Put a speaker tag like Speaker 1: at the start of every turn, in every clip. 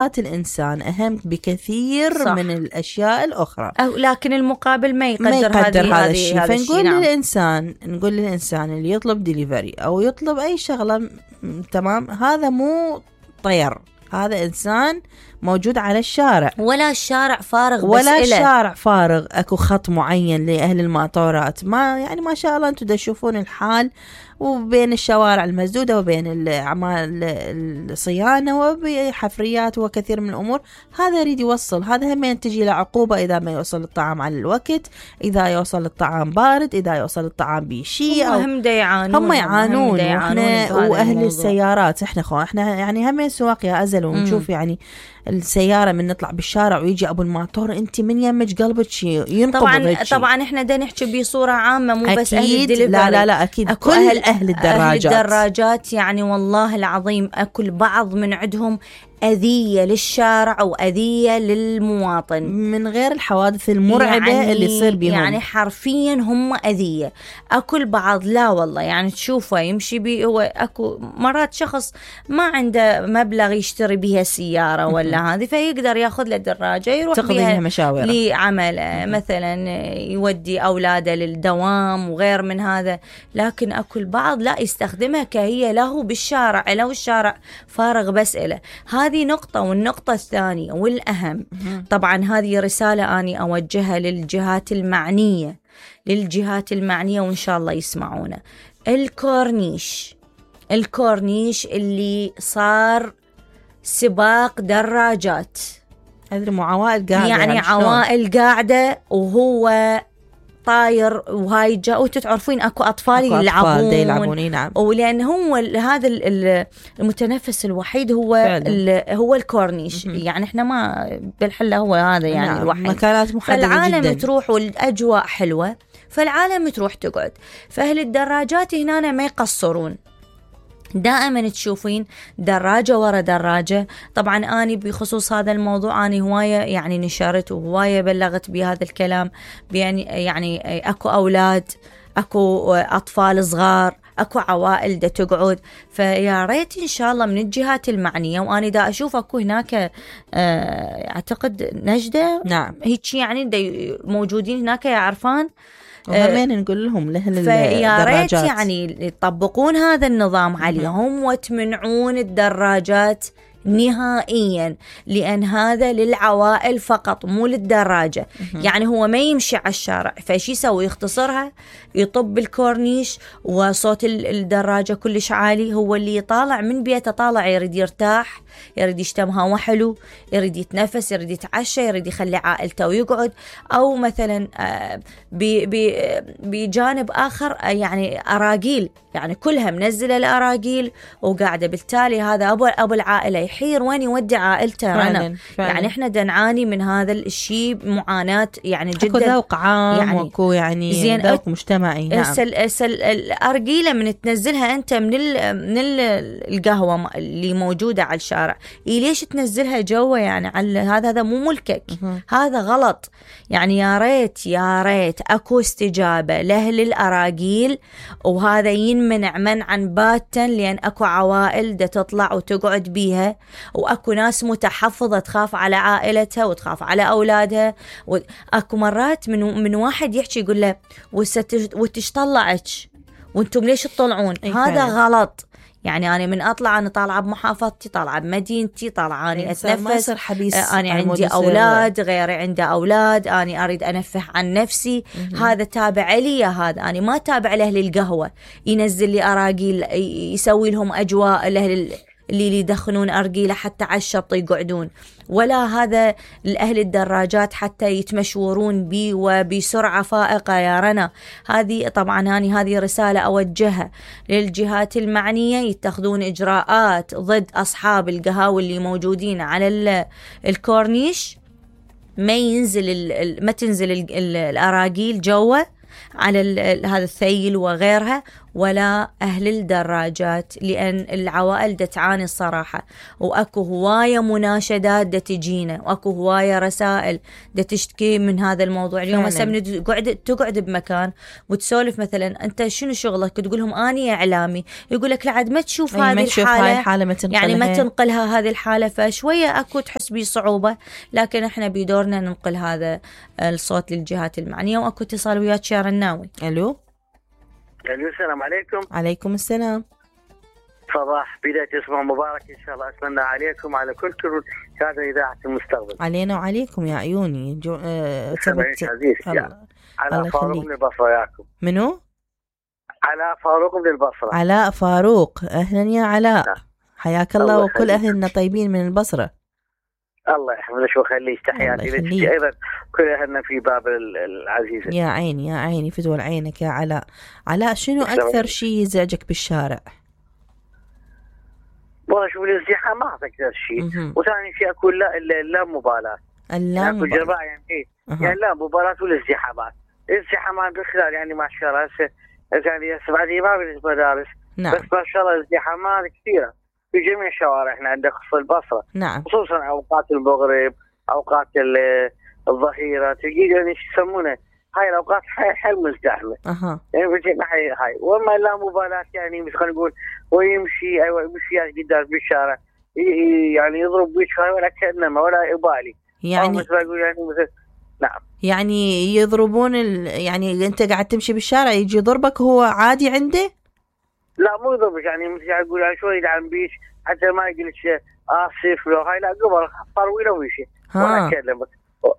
Speaker 1: الإنسان أهم بكثير صح. من الأشياء الأخرى،
Speaker 2: لكن المقابل ما يقدر
Speaker 1: هذا الشيء. فنقول للإنسان نقول للإنسان اللي يطلب ديليفري أو يطلب أي شغلة تمام، هذا مو طير، هذا إنسان موجود على الشارع،
Speaker 2: ولا الشارع فارغ،
Speaker 1: ولا الشارع فارغ، اكو خط معين لأهل الماطورات. ما يعني ما شاء الله انتم تشوفون الحال، وبين الشوارع المسدودة وبين أعمال الصيانة وبحفريات وكثير من الأمور. هذا يريد يوصل، هذا هم تجي له عقوبة إذا ما يوصل الطعام على الوقت، إذا يوصل الطعام بارد، إذا يوصل الطعام بشيء.
Speaker 2: هم يعانون
Speaker 1: وإحنا وأهل السيارات إحنا يعني هم سواق يا أزل، ونشوف يعني السيارة من نطلع بالشارع ويجي أبو الماطور، أنت من يمج قلبك ينقبض.
Speaker 2: طبعا إحنا دا نحكي بصورة عامة، مو بس أهل الدليفري،
Speaker 1: لا أكيد كل أهل
Speaker 2: الدراجات يعني والله العظيم أكل بعض من عندهم أذية للشارع وأذية للمواطن،
Speaker 1: من غير الحوادث المرعبة يعني اللي يصير بهم.
Speaker 2: يعني حرفيا هم أذية. أكل بعض لا والله، يعني تشوفه يمشي بي، هو أكو مرات شخص ما عنده مبلغ يشتري بها سيارة ولا هذه، فيقدر ياخذ له دراجة يروح بها
Speaker 1: مشاوير
Speaker 2: لعمله، مثلا يودي أولاده للدوام وغير من هذا. لكن أكل بعض لا يستخدمها كهي له بالشارع، له الشارع فارغ بس إله. هذه نقطة. والنقطة الثانية والأهم، طبعا هذه رسالة أني أوجهها للجهات المعنية، وإن شاء الله يسمعونا. الكورنيش اللي صار سباق دراجات،
Speaker 1: هذه عوائل قاعدة،
Speaker 2: يعني عوائل قاعدة وهو طاير وهاي جاء، وتتعرفين اكو اطفال يلعبون.
Speaker 1: نعم.
Speaker 2: ولان هو هذا المتنفس الوحيد هو الكورنيش. يعني احنا ما بالحله هو هذا يعني
Speaker 1: نعم.
Speaker 2: الوحيد.
Speaker 1: مكانات محددة
Speaker 2: فالعالم
Speaker 1: جدا،
Speaker 2: تروح والاجواء حلوه، فالعالم تروح تقعد. فاهل الدراجات هنا ما يقصرون، دائما تشوفين دراجة ورا دراجة. طبعا أنا بخصوص هذا الموضوع أنا هواية يعني نشرت وهواية بلغت بهذا الكلام، يعني أكو أولاد، أكو أطفال صغار، أكو عوائل دا تقعد. فيا ريت إن شاء الله من الجهات المعنية، وأنا دا أشوف أكو هناك أعتقد نجدة،
Speaker 1: نعم
Speaker 2: هيك يعني دا موجودين هناك يا عرفان،
Speaker 1: وهمين نقول لهم
Speaker 2: فيا ريت يعني يطبقون هذا النظام عليهم وتمنعون الدراجات نهائيا، لأن هذا للعوائل فقط مو للدراجة. يعني هو ما يمشي على الشارع، فشي يسوي؟ يختصرها، يطب الكورنيش وصوت الدراجة كلش عالي، هو اللي يطالع من بيته طالع يريد يرتاح، يريد يشتم هوا حلو، يريد يتنفس، يريد يتعشى، يريد يخلي عائلته ويقعد. أو مثلا بجانب آخر يعني أراجيل، يعني كلها منزلة الأراجيل وقاعدة، بالتالي هذا أبو العائلة يحير وين يودي عائلته. فعلا. يعني إحنا دنعاني من هذا الشيء معاناة يعني جدا.
Speaker 1: أكو ذوق عام يعني وكو يعني ذوق مجتمعي. نعم.
Speaker 2: الأرجيلة من تنزلها أنت من القهوة اللي موجودة على الشارع، ليش تنزلها جوا يعني على هذا مو ملكك. هذا غلط. يعني يا ريت أكو استجابة لأهل الأراجيل، وهذا ينمنع منعا باتا، لأن أكو عوائل دا تطلع وتقعد بيها، وأكو ناس متحفظة تخاف على عائلتها وتخاف على أولادها. وأكو مرات من واحد يحكي يقول له وتش طلعك وانتم ليش تطلعون؟ هذا غلط. يعني أنا من أطلع أنا طالعة بمحافظتي، طالعة بمدينتي، طالعة أنا أتنفس، أنا عندي أولاد، غيري عنده أولاد، أنا أريد أنفه عن نفسي. هذا تابع لي، هذا أنا ما تابع لأهل القهوة ينزل لي أراجيل يسوي لهم أجواء اللي يدخنون أرجيلة حتى على الشط يقعدون، ولا هذا الأهل الدراجات حتى يتمشورون بي وبسرعة فائقة. يا رنا هذه طبعا هذه رسالة أوجهها للجهات المعنية، يتخذون إجراءات ضد أصحاب القهاوي اللي موجودين على الكورنيش، ما تنزل الأراجيل جوا على هذا الثيل وغيرها، ولا أهل الدراجات، لأن العوائل دا تعاني الصراحة، وأكو هواية مناشدات دا تجينا، وأكو هواية رسائل دا تشتكي من هذا الموضوع. اليوم هسه تقعد بمكان وتسولف مثلا أنت شنو شغلك، تقولهم أني إعلامي، يقول لك لعد ما تشوف هذه الحالة يعني ما تنقلها هذه الحالة، فشوية أكو تحس بصعوبة، لكن احنا بدورنا ننقل هذا الصوت للجهات المعنية. وأكو اتصال وياك يا رناوي.
Speaker 1: ألو.
Speaker 3: السلام عليكم.
Speaker 1: عليكم السلام.
Speaker 3: صباح بداية اسبوع مبارك إن شاء الله. أتمنى عليكم على كل هذا إذاعة المستقبل.
Speaker 1: علينا وعليكم يا عيوني.
Speaker 3: على فاروق من البصرة ياكم.
Speaker 1: منو؟
Speaker 3: على فاروق من البصرة.
Speaker 1: علاء فاروق، أهلا يا علاء. حياك الله وكل أهلنا طيبين من البصرة.
Speaker 3: الله يحفظك ويخليك، تحياتي لك أيضا كل أهلنا في باب العزيزة.
Speaker 1: يا عيني يا عيني، فدول عينك يا علاء. علاء، شنو أكثر شيء يزعجك بالشارع؟
Speaker 3: والله شوف الازدحامات أكثر شيء، وثاني شيء أقول لا مبالاة.
Speaker 1: لا مبالاة
Speaker 3: يعني لا مبالاة والازدحامات. الازدحامات بالخلال يعني ما شاء الله يعني بعد ما بالمدارس.
Speaker 1: نعم.
Speaker 3: بس ما شاء الله الازدحامات كثيرة في جميع شوارعنا عندك خصوصا البصرة.
Speaker 1: نعم.
Speaker 3: خصوصا أوقات المغرب، أوقات الظهيرة، تلقي يعني يسمونه هاي الأوقات حل مزدحمة. يعني بجينا هاي وما لا مبالاة، يعني مثل خلينا نقول ويمشي يمشي قدام بالشارع يعني يضرب وجهه ولا كأنما ولا يبالي.
Speaker 1: يعني
Speaker 3: مثل أقول يعني مثل نعم.
Speaker 1: يعني يضربون يعني أنت قاعد تمشي بالشارع يجي يضربك هو عادي عنده؟
Speaker 3: لا مو يضربك، يعني مثل أقول يعني شوي يدعم بيش حتى ما يقولش آسف لو هاي، لا قبل طروي ويشي ولا كلمة.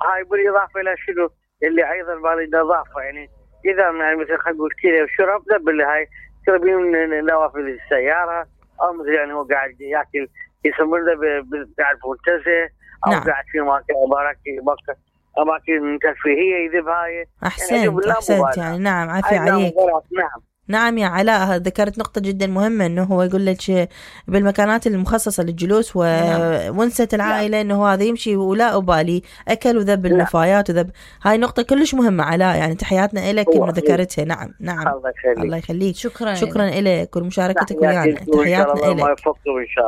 Speaker 3: هاي بالإضافة إلى شنو اللي أيضا بالنظافة، يعني إذا يعني مثل خلينا نقول كذا وشرب دبل هاي تربي من نوافذ السيارة، أو مثل يعني هو قاعد يأكل يسمونه قاعد منتزه، أو
Speaker 1: نعم.
Speaker 3: قاعد في أماكن ترفيهية يذهب هاي.
Speaker 1: أحسنت
Speaker 3: يعني
Speaker 1: أحسنت يعني نعم، عافية عليك.
Speaker 3: نعم.
Speaker 1: نعم يا علاء، ذكرت نقطة جدا مهمة، انه هو يقول لك بالمكانات المخصصة للجلوس ونسة العائلة انه هذا يمشي ولا أبالي أكل وذب النفايات وذب. هاي نقطة كلش مهمة علاء، يعني تحياتنا إلك انه ذكرتها. نعم نعم.
Speaker 3: الله
Speaker 1: يخليك.
Speaker 2: شكرا
Speaker 1: إلك ومشاركتك ويانا. تحياتنا إلك.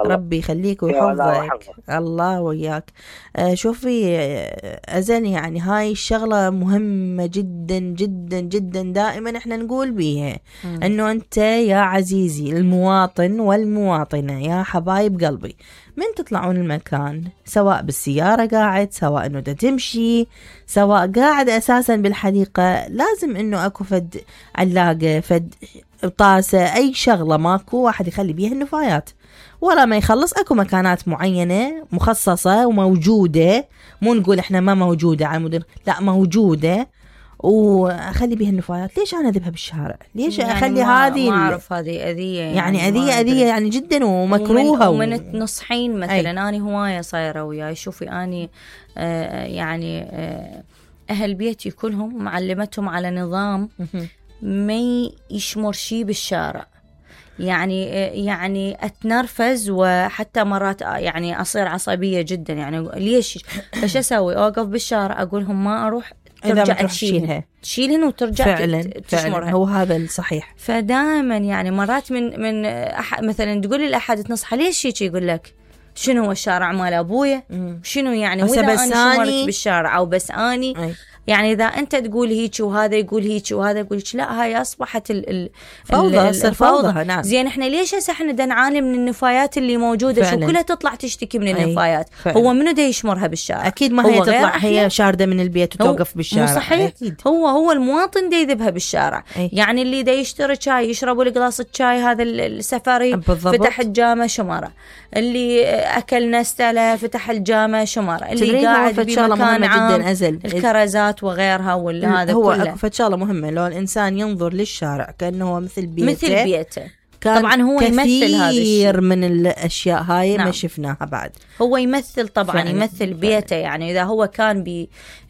Speaker 1: ربي يخليك ويحفظك. الله وياك. شوفي أزل، يعني هاي الشغلة مهمة جدا جدا جدا، دائما احنا نقول بيها انه انت يا عزيزي المواطن والمواطنة يا حبايب قلبي، من تطلعون المكان سواء بالسيارة قاعد، سواء انه تمشي، سواء قاعد اساسا بالحديقة، لازم انه اكو فد علاقة، فد طاسة، اي شغلة ماكو واحد يخلي بيها النفايات، ولا ما يخلص اكو مكانات معينة مخصصة وموجودة، مو نقول احنا ما موجودة على المدن، لا موجودة، وأخلي بيها النفايات. ليش أنا أذبها بالشارع؟ ليش يعني أخلي هذه؟
Speaker 2: ما أعرف هذه أذية،
Speaker 1: يعني أذية يعني جدا ومكروهة.
Speaker 2: ومن تنصحين مثلا أنا هواية صايرة وياي، شوفي أني يعني أهل بيتي كلهم معلمتهم على نظام ما يشمر شي بالشارع، يعني أتنرفز، وحتى مرات يعني أصير عصبية جدا. يعني ليش؟ فش أسوي؟ أوقف بالشارع أقولهم ما أروح، ترجع تشيلهن وترجع
Speaker 1: فعلا هو هذا الصحيح.
Speaker 2: فدائما يعني مرات من مثلا تقولي لأحد تنصحه ليش هيك، يقول لك شنو هو الشارع مال أبويا، شنو يعني وإذا أنا شمرت بالشارع أو بس أني يعني إذا أنت تقول هيك وهذا يقول هيك وهذا يقول هيك، لا هاي أصبحت
Speaker 1: الفوضى. نعم.
Speaker 2: زين إحنا ليش هسه إحنا دا نعاني من النفايات اللي موجودة؟ شو كلها تطلع تشتكي من النفايات. هو منو دا يشمرها بالشارع؟
Speaker 1: أكيد ما هي تطلع هي شاردة من البيت وتوقف بالشارع.
Speaker 2: صحيح. أكيد. هو المواطن دا يذبها بالشارع. يعني اللي دا يشتري شاي يشربوا القلاص الشاي هذا السفري فتح الجامة شمرة، اللي أكل نستله فتح الجامة شمرة، اللي قاعد بمكان عام الكرزات وغيرها هذا
Speaker 1: هو
Speaker 2: كله.
Speaker 1: فشغله مهمة لو الإنسان ينظر للشارع كأنه هو مثل
Speaker 2: بيته. طبعا هو يمثل هذا
Speaker 1: كثير من الأشياء هاي. نعم. ما شفناها بعد.
Speaker 2: هو يمثل طبعا يمثل بيته. يعني إذا هو كان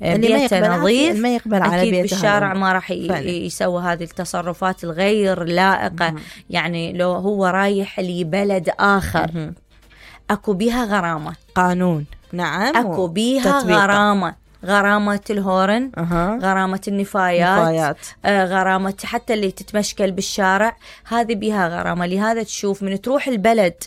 Speaker 2: ببيته نظيف
Speaker 1: ما يقبل على
Speaker 2: أكيد
Speaker 1: بيته
Speaker 2: بالشارع ما راح يسوي هذه التصرفات الغير لائقة. يعني لو هو رايح لبلد آخر أكو بيها غرامة،
Speaker 1: قانون. نعم.
Speaker 2: أكو بيها غرامة غرامة الهورن، غرامة النفايات، غرامة حتى اللي تتمشكل بالشارع هذه بيها غرامة. لهذا تشوف من تروح البلد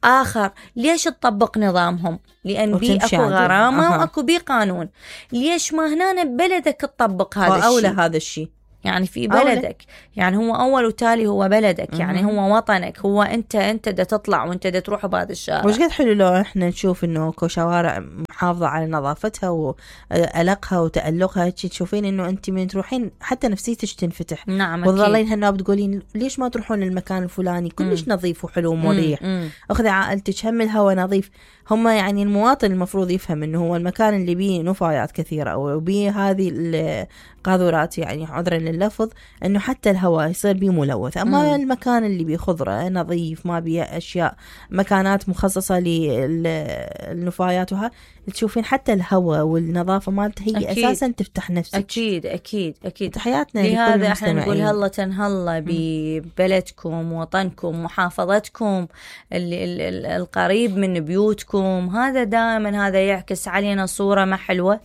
Speaker 2: آخر ليش تطبق نظامهم؟ لأن بي أكو غرامة وأكو بي قانون. ليش ما هنا ببلدك تطبق هذا الشيء؟
Speaker 1: أولى هذا الشيء
Speaker 2: يعني في بلدك، يعني هو أول وتالي هو بلدك، يعني هو وطنك، هو أنت دا تطلع وأنت دا تروح بهذا الشارع.
Speaker 1: وش قد حلو لو إحنا نشوف إنه كو شوارع محافظة على نظافتها وألقها وتألقها، تشوفين إنه أنت من تروحين حتى نفسيتك تنفتح.
Speaker 2: نعم.
Speaker 1: وتظلين هنا بتقولين ليش ما تروحون المكان الفلاني كلش نظيف وحلو ومريح، أخذي عائلتك هم الهواء نظيف. هم يعني المواطن المفروض يفهم إنه هو المكان اللي بيه نفايات كثيرة أو بيه هذه القاذورات، يعني عذرا لللفظ، إنه حتى الهواء يصير بيه ملوث. أما المكان اللي بيه خضرة نظيف ما بيه أشياء، مكانات مخصصة للنفايات وها، تشوفين حتى الهواء والنظافة مالته هي أكيد. أساسا تفتح نفسك.
Speaker 2: أكيد أكيد أكيد.
Speaker 1: تحياتنا
Speaker 2: لهذا احنا نقول هلا تنهلا ببلدكم، وطنكم، محافظتكم، القريب من بيوتكم. هذا دائما هذا يعكس علينا صورة ما حلوة.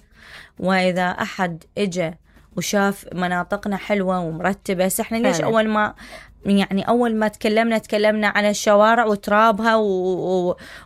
Speaker 2: وإذا أحد إجا وشاف مناطقنا حلوة ومرتبة، احنا ليش أول ما تكلمنا على الشوارع وترابها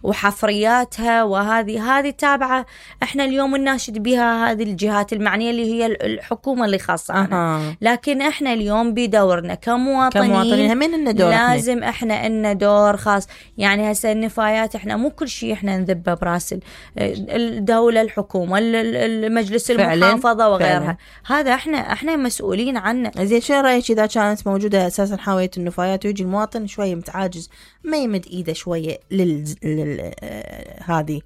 Speaker 2: وحفرياتها، وهذه تابعة احنا اليوم نناشد بها هذه الجهات المعنية اللي هي الحكومة اللي خاصة عنها. لكن احنا اليوم بدورنا كمواطنين لازم احنا إلنا دور خاص. يعني هسه النفايات احنا مو كل شيء احنا نذبه براس الدولة، الحكومة، المجلس المحافظة وغيرها. هذا احنا مسؤولين عنه.
Speaker 1: زين شو رأيك إذا كانت موجودة أساسا حاوية النفايات ويجي المواطن شوية متعاجز ما يمد إيده شوية هذه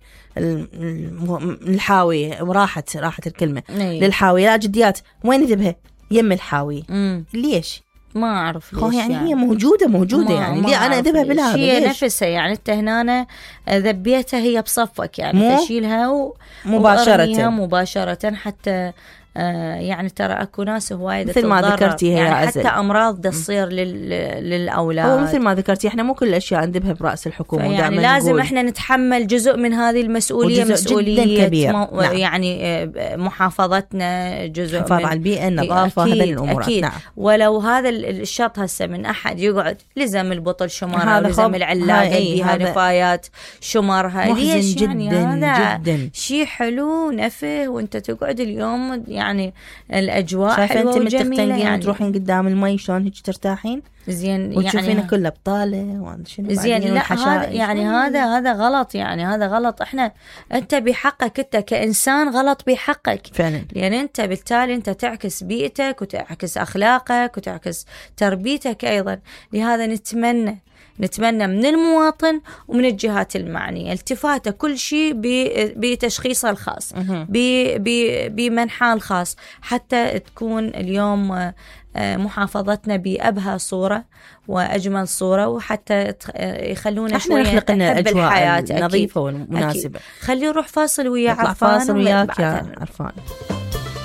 Speaker 1: الحاوية، راحت الكلمة للحاوية، لا جديات وين ذبها يم الحاوية. ليش؟
Speaker 2: ما أعرف
Speaker 1: ليش يعني هي موجودة يعني ليه أنا أذبها بالهذا؟
Speaker 2: هي نفسها يعني أنت هنا ذبيتها هي بصفك، يعني تشيلها مباشرة حتى يعني ترى اكو ناس هوايه
Speaker 1: مثل ما ذكرتي هي
Speaker 2: يعني حتى امراض تصير للاولاد.
Speaker 1: هو مثل ما ذكرتي احنا مو كل الاشياء ندبها براس الحكومه،
Speaker 2: يعني لازم احنا نتحمل جزء من هذه المسؤوليه، مسؤوليه
Speaker 1: كبير.
Speaker 2: يعني محافظتنا، جزء
Speaker 1: حفاظ على البيئه، النظافه، هذه الامور.
Speaker 2: نعم. ولو هذا الشط هسه من احد يقعد لزم البطل شمارها ولزم العلاقه بها نفايات شمارها، ليش
Speaker 1: جدا
Speaker 2: يعني هذا
Speaker 1: جدا
Speaker 2: شيء حلو نفه، وانت تقعد اليوم يعني الأجواء
Speaker 1: حلوة
Speaker 2: وجميلة،
Speaker 1: يعني تروحين قدام المي شلون هيك ترتاحين
Speaker 2: زين،
Speaker 1: وتشوفين يعني كله بطالة
Speaker 2: زين. لا هذا يعني هذا غلط، يعني هذا غلط. أنت بحقك أنت كإنسان غلط بحقك
Speaker 1: فعلا،
Speaker 2: لأن أنت بالتالي أنت تعكس بيئتك وتعكس أخلاقك وتعكس تربيتك أيضا. لهذا نتمنى من المواطن ومن الجهات المعنية التفاتة كل شيء بتشخيصه الخاص، بمنحاه الخاص، حتى تكون اليوم محافظتنا بأبهى صورة وأجمل صورة، وحتى يخلونا شوية
Speaker 1: نخلق لنا
Speaker 2: الحياة
Speaker 1: نظيفة ومناسبة.
Speaker 2: خلي نروح فاصل ويا
Speaker 1: عرفان. فاصل وياك يا عرفان.